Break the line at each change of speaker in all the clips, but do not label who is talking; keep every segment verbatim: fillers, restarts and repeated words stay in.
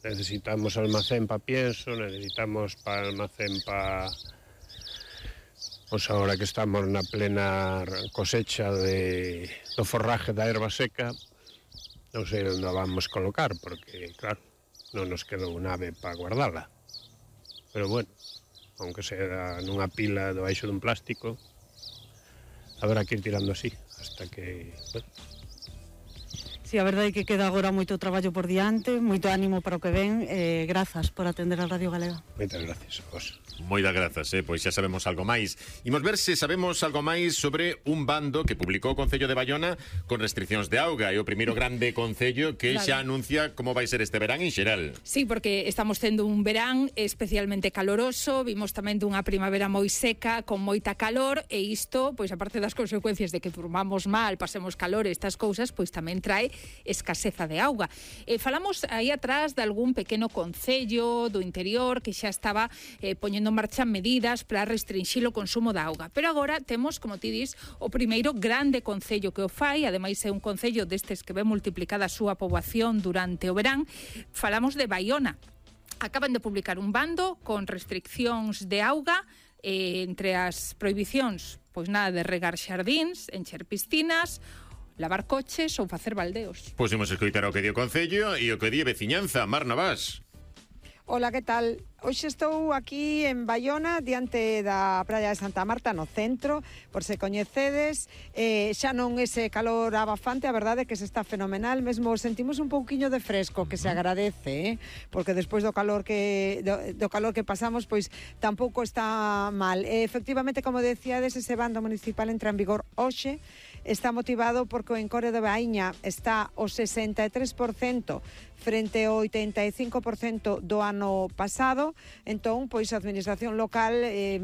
necesitamos almacén para pienso, necesitamos para almacén para... Pois agora que estamos na plena cosecha de, do forraje da erva seca, non sei onde a vamos colocar, porque, claro, non nos quedou nave para guardala. Pero, bueno, aunque sea nunha pila debaixo dun plástico, habrá que ir tirando así, hasta que... Bueno.
Si, a verdade é que queda agora moito traballo por diante, moito ánimo para o que ven, eh, grazas por atender a Radio Galega.
Moitas gracias a vos.
Moitas grazas, eh? Pois xa sabemos algo máis. Imos ver se sabemos algo máis sobre un bando que publicou o Concello de Baiona con restriccións de auga. É o primeiro grande concello que claro. xa anuncia como vai ser este verán en xeral.
Sí, porque estamos tendo un verán especialmente caloroso, vimos tamén dunha primavera moi seca, con moita calor, e isto, pois aparte das consecuencias de que durmamos mal, pasemos calor e estas cousas, pois tamén trae escaseza de auga. Eh, falamos aí atrás de algún pequeno concello do interior que xa estaba eh, poñendo en marcha medidas para restringir o consumo de auga. Pero agora temos, como ti dis, o primeiro grande concello que o fai, ademais é un concello destes que ve multiplicada a súa poboación durante o verán. Falamos de Baiona. Acaban de publicar un bando con restriccións de auga, eh, entre as prohibicións, pois nada de regar xardíns, encher piscinas, lavar coches ou facer baldeos.
Pois imos escoitar o que di o Concello e o que di a veciñanza. Mar Navás.
Ola, que tal? Hoxe estou aquí en Baiona, diante da praia de Santa Marta, no centro, por se coñecedes, eh, xa non ese calor abafante, a verdade é que se está fenomenal, mesmo sentimos un pouquiño de fresco, que se agradece, eh? Porque despois do calor que do, do calor que pasamos, pois tampouco está mal. Eh, efectivamente, como decíades, ese bando municipal entra en vigor hoxe, está motivado porque o encore de Baíña está ao sesenta e tres por cento frente ao oitenta e cinco por cento do ano pasado. Entón, pois a administración local eh,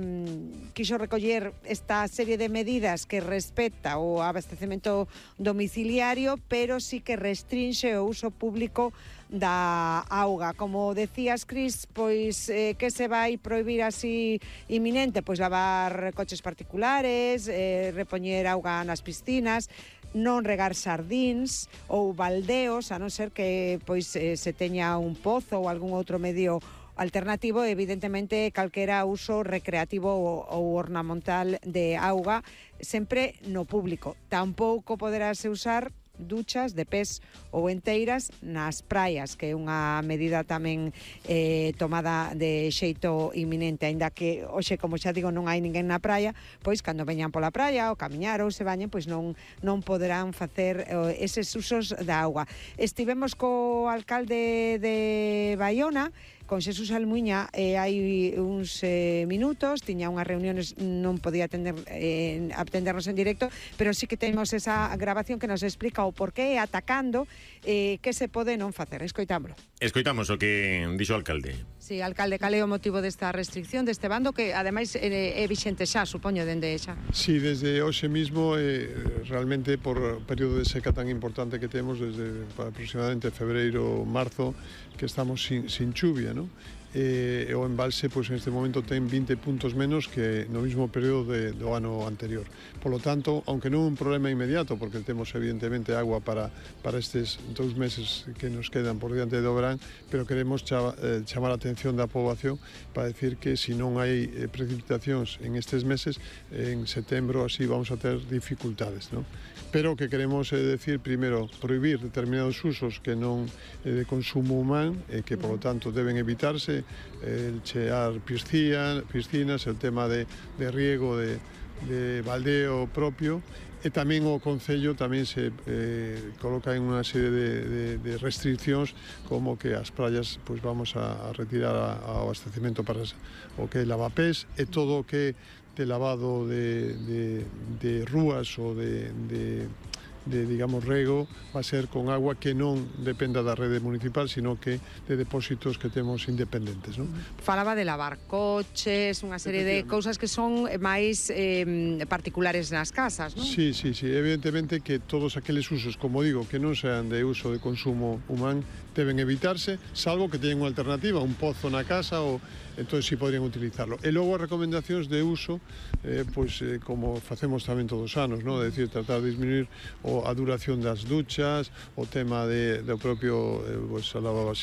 quixo recoller esta serie de medidas que respecta o abastecemento domiciliario, pero sí que restrinxe o uso público da auga. Como decías, Cris, pois eh, que se vai prohibir así inminente? Pois lavar coches particulares, eh, repoñer auga nas piscinas, non regar xardíns ou baldeos, a non ser que pois eh, se teña un pozo ou algún outro medio alternativo, evidentemente calquera uso recreativo ou, ou ornamental de auga, sempre no público. Tampouco poderase usar duchas de pés ou enteiras nas praias, que é unha medida tamén eh, tomada de xeito inminente, aínda que hoxe, como xa digo, non hai ninguén na praia, pois cando veñan pola praia ou camiñar ou se bañen, pois non, non poderán facer eh, eses usos da auga. Estivemos co alcalde de Baiona, con Xesús Almuña, eh, hai uns eh, minutos, tiña unhas reuniones, non podía atender, eh, atendernos en directo, pero sí que temos esa grabación que nos explica o porqué, atacando, eh, que se pode non facer. Escoitámoslo.
Escoitamos o que dixo o alcalde.
Sí, alcalde, cal é o motivo desta restricción, deste bando, que ademais é, é vixente xa, supoño, dende xa?
Sí, desde hoxe mismo, eh, realmente por período de seca tan importante que temos, desde aproximadamente febreiro, marzo, que estamos sin, sin chuvia, ¿no? Eh, o embalse, pois, en este momento ten vinte puntos menos que no mismo período de, do ano anterior. Por lo tanto, aunque non é un problema inmediato, porque temos evidentemente agua para, para estes dous meses que nos quedan por diante do verán, pero queremos chama, eh, chamar a atención da poboación para decir que se non hai eh, precipitacións en estes meses, eh, en setembro así vamos a ter dificultades, ¿no? Pero o que queremos é decir, primeiro, prohibir determinados usos que non é de consumo humano e que, por lo tanto, deben evitarse, el chear piscinas, piscinas, el tema de, de riego, de, de baldeo propio, e tamén o Concello tamén se eh, coloca en unha serie de, de, de restriccións, como que as praias pois vamos a, a retirar a, a abastecemento para o que é lavapés e todo o que de lavado de, de, de rúas ou de, de de, digamos, rego, va a ser con agua que non dependa da rede municipal, sino que de depósitos que temos independentes, non?
Falaba de lavar coches, unha serie de cousas que son máis eh, particulares nas casas, non?
Sí, sí, sí, evidentemente que todos aqueles usos, como digo, que non sean de uso de consumo humano, deben evitarse, salvo que teñen unha alternativa, un pozo na casa, ou entonces sí podrían utilizarlo. E logo as recomendacións de uso, eh, pois, eh, como facemos tamén todos os anos, non? É dicir, tratar de disminuir o, a duración das duchas, o tema de, do propio, eh, pois, a lavavas